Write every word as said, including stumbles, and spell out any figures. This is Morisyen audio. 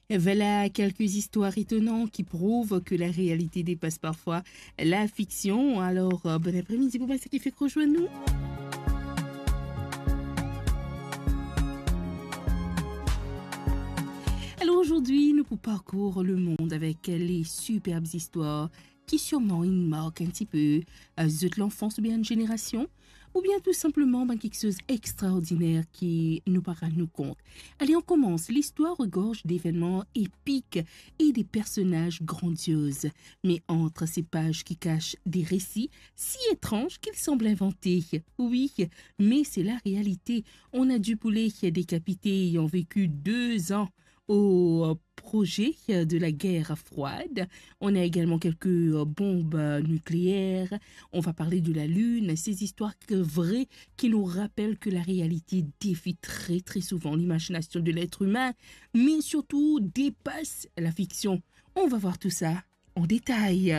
Voilà quelques histoires étonnantes qui prouvent que la réalité dépasse parfois la fiction. Alors, euh, bon après-midi pour ceux qui fait rejoindre nous. Alors aujourd'hui, nous pour parcours le monde avec les superbes histoires qui sûrement une marque un petit peu euh, zot l'enfance ou bien une génération, ou bien tout simplement ben, quelque chose d'extraordinaire qui nous paraît nous compte. Allez, on commence. L'histoire regorge d'événements épiques et des personnages grandioses. Mais entre ces pages qui cachent des récits si étranges qu'ils semblent inventés. Oui, mais c'est la réalité. On a du poulet décapité ayant vécu deux ans au projet de la guerre froide. On a également quelques euh, bombes euh, nucléaires. On va parler de la Lune. Ces histoires que- vraies qui nous rappellent que la réalité défie très très souvent l'imagination de l'être humain, mais surtout dépasse la fiction. On va voir tout ça en détail.